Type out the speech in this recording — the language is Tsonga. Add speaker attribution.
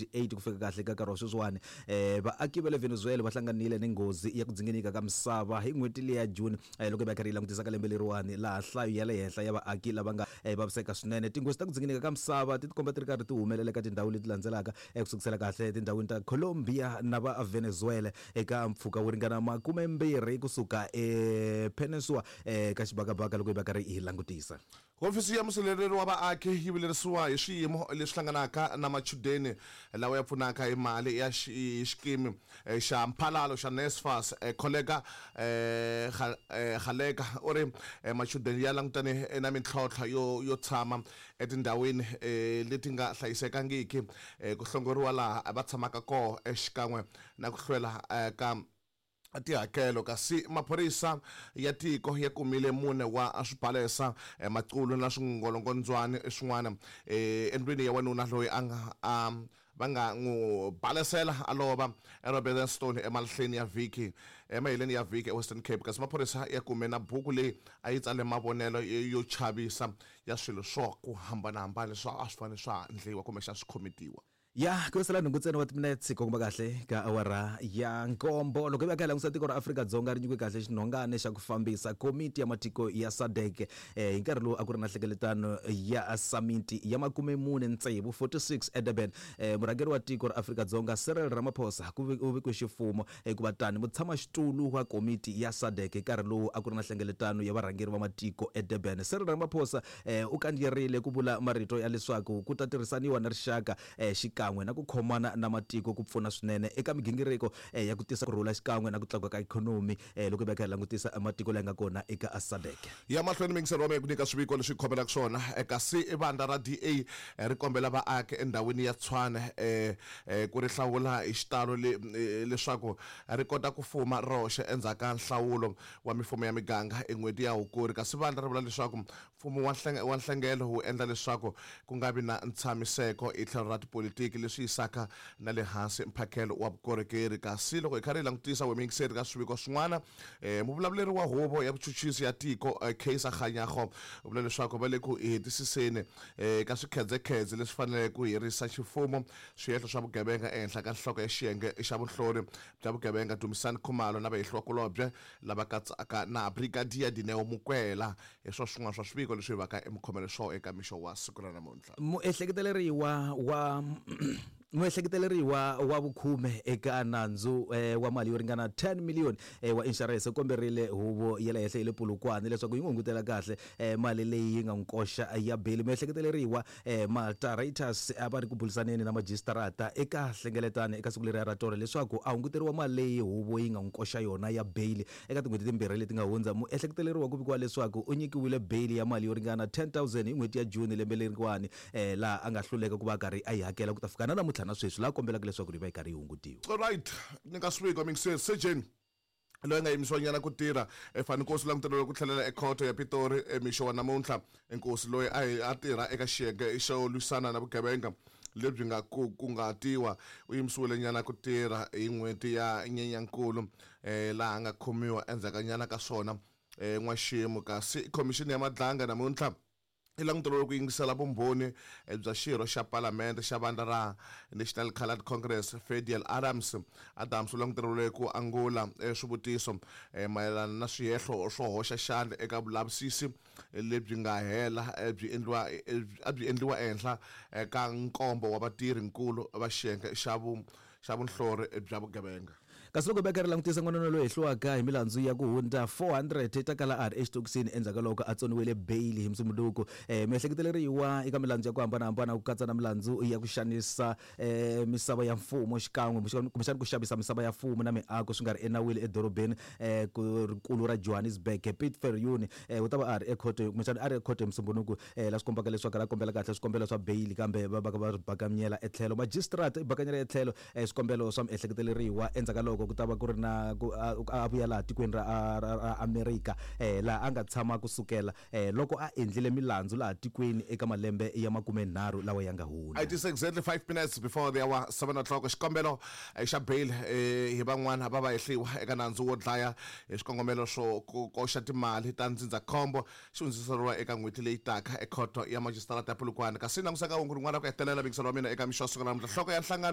Speaker 1: 8 ku fika kahle ka nkarhi wa sweswiwani um vaaki va le Venezuela va hlanganile ni nghozi ya ku dzinginika ka misava hi n'hweti leya June eh, loko hi va karhi yi langutisa ka lembe leriwani laha nhlayo ya le henhla ya vaaki lava nga eh, vaviseka swinene. Tinghozi ta ku dzinginika ka misava ti tikomba ti ri karhi ti humelela eka tindhawu leti landzelaka eh, ku sukusela kahle etindhawini ta Colombia na va Venezuela eka mpfhuka wo ringana makumembirhi kusuka ePeninsula eh, ka xibakabaka loko hi va karhi hi langutisa.
Speaker 2: Hofisi ya Musirheleri wa Vaaki yi vilerisiwa hi swiyimo leswi hlanganaka na machudeni lawa ya pfunaka hi mali ya hi xikimi xa mphalalo xa NSFAS. Kholeka Gcaleka u ri machudeni ya langutane na mintlhontlho yo yo tshama etindhawini leti nga hlayisekangiki, ku hlongoriwa laha va tshamaka kona xikan'we na ku hlwela ka tihakelo. Kasi maphorisa ya tiko ya kumile mune wa swibalesa, maqulu na swingolongondzwani swin'wana endlwini ya wanuna loyi a nga a va nga n'wi balesela a lova eRobertson emalahleni ya vhiki emaheleni ya vhiki eWestern Cape. Kasi maphorisa ya kume na buku leyi a yi tsale mavonelo yo chavisa ya swilo swa ku hambanahambana leswi a swi fanele swa endliwa kumbexana swi khometiwa.
Speaker 1: Ya ku sala nhungu ntsena wa timinetse ku komba kahle ka awara ya nkombo. Loko hi va kha hi langutisa tiko ra Afrika-Dzonga ri nyikiwe kahle xinhongane xa ku fambisa komiti ya matiko ya SADC eh, hi nkarhi lowu a ku ri na nhlengeletano ya samiti ya makumemune tsevu 46 eDurban. Eh, murhangeri wa tiko ra Afrika-Dzonga Cyril Ramaphosa ku u vekiwe ximfumo hikuva tani mutshamaxitulu wa komiti ya SADC hi nkarhi lowu a ku ri na nhlengeletano ya varhangeri va matiko eDurban. Cyril Ramaphosa eh, u kandziyerile ku vula marito ya leswaku ku ta tirhisaniwa na rixaka eh, xikan'we na ku khomana na matiko ku pfuna swinene eka migingiriko eh, ya ku tisa ku rhula xikan'we na ku tlakuka ka ikhonomi eh, loko hi va kha hi langutisa matiko laya nga kona eka SADC.
Speaker 2: Ya mahlweni miyingiseri wa mehe ku nyika swiviko leswi khomelaka swona eh, kasi vandla ra DA eh, ri kombela vaaki endhawini ya Tshwane eh, eh, ku ri hlawula hi xitalo le, eh, leswaku ri kota ku fuma roxe endzhaku ka nhlawulo wa mifumo ya miganga hi n'hweti ya Hukuri. Kasi vandla ri vula leswaku mfumo wa wa nhlengelo wu endla leswaku ku nga vi na ntshamiseko hi tlhelo ra tipolitiki leswi yisaka na le hansi mphakelo wa vukorhokeri. Kasi loko hi karhi hi langutisa we muyingiseri ka swiviko swin'wana, eh, muvulavuleri wa huvo ya vuchuchisi ya tiko eh, Kaiser Kganyago u vula leswaku va le ku hetisiseni eh, ka swikhedzekhedze leswi faneleke ku herisa ximfumo swihehlo swa vugevenga ehenhla ka nhloko ya xiyenge xa vunhlori bya vugevenga Dumisani Khumalo na vahehliwakulobye lava katsaka na Brigadier Dineo Mokwela. Hi swo swin'wana swa swiviko leswi hi vaka emikhomelo swo eka mixo wa siku ra namuntlha.
Speaker 1: Muehleketeleriwa wa Muehleketeleriwa wa vukhume eka nandzu eh, wa mali yo ringana 10 million eh, wa inshurense u komberile huvo ya le henhla ya le Polokwane leswaku yi n'wi hungutela kahle eh, mali leyi yi nga n'wi koxa ya beli. Muehleketeleriwa eh, Malta Reuters a va ri ku burisaneni na majisitarata eka hlengeletano eka siku leriya ra tolo leswaku a hunguteriwa mali leyi huvo yi nga n'wi koxa yona ya beyili eka tin'hweti timbirhi leti nga hundza. Muehleketeleriwa ku vikiwa leswaku u nyikiwile beyili ya mali yo ringana 10,000 hi n'hweti ya June lembe leriwani eh, laha a nga hluleka ku va a karhi a yi hakela ku ta fika na namuntlha na sweswi laha kombelaka leswaku yi va yi karhi yi hungutiwa.
Speaker 2: Alright, nyika swiviko mixer Sejeni loyi a nga yimisiwanyana ku tirha eFani Nkosi u languteriwe ku tlhelela ekhoto ya Pitori emixo wa namuntlha. Nkosi loyi a a tirha eka xiyenge xo lwisana na vugevenga lebyi nga ku kunguhatiwa u yimisiwile nyana ku tirha hi n'hweti ya Nyenyankulu um laha a nga khomiwa endzhakunyana ka swona um n'waxemu. Kasi khomixini ya Madlanga namuntlha i languteriwe ku yingisela vumbhoni bya xirho xa palamende xa vandla ra National Coloured Congress Ferdiel Adams. Adams u languteriwile ku angula swivutiso mayelana na swihehlo swo hoxa xandla eka vulavisisi lebyi nga hela byi endliwa a byi endliwa ehenhla ka nkombo wa vatirhi-nkulu va xiyenge xa xa vunhlori bya vugevenga.
Speaker 1: Kasi loko Beka ri langutisa n'wanuna loyi hehliwaka hi milandzu ya ku hundza 400 ta kala a ri exitokisini endzhaku ka loko a tsoniwile beyili hi Musumbhunuku. Eh, miehleketeleriwa eka milandzu ya ku hambanahambana ku katsa na milandzu ya ku xanisa eh, misava ya mfumo xikan'we kumbexana ku xavisa misava ya mfumo na miako swi nga ri enawini edorobeni eh, ku rikulu ra Johannesburg. Piet Viljoen eh, u ta va a ri ekhoto kumbexana a ri ekhoto hi Musumbhunuku eh, la swi kombaka leswaku ra kombela kahle swikombelo swa beyili kambe va va va ri bakanyela etlhelo. Magistrate i bakanyela etlhelo eh, swikombelo swa miehleketeleriwa endzhaku ka loko loko ku ta va ku ri na ku a vuya laha tikweni ra ra Amerika laha a nga tshama ku sukela loko a endlile milandzu laha tikweni eka malembe ya makumenharhu lawa ya nga hundza.
Speaker 2: It is exactly 5 minutes before the hour 7 o'clock. Xikombelo xa bail hi van'wana va vahehliwa eka nandzu wo dlaya hi swikongomelo swo koxa timali ta ndzindzakhombo xi hundziseriwa eka n'hweti leyi taka ekhoto ya majisitarata ya Polokwane. Kasi langusa ka hungu rin'wana ra ku hetelela mingiselo wa mina eka mixo wa siku ra namuntlha, nhloko ya nhlangano.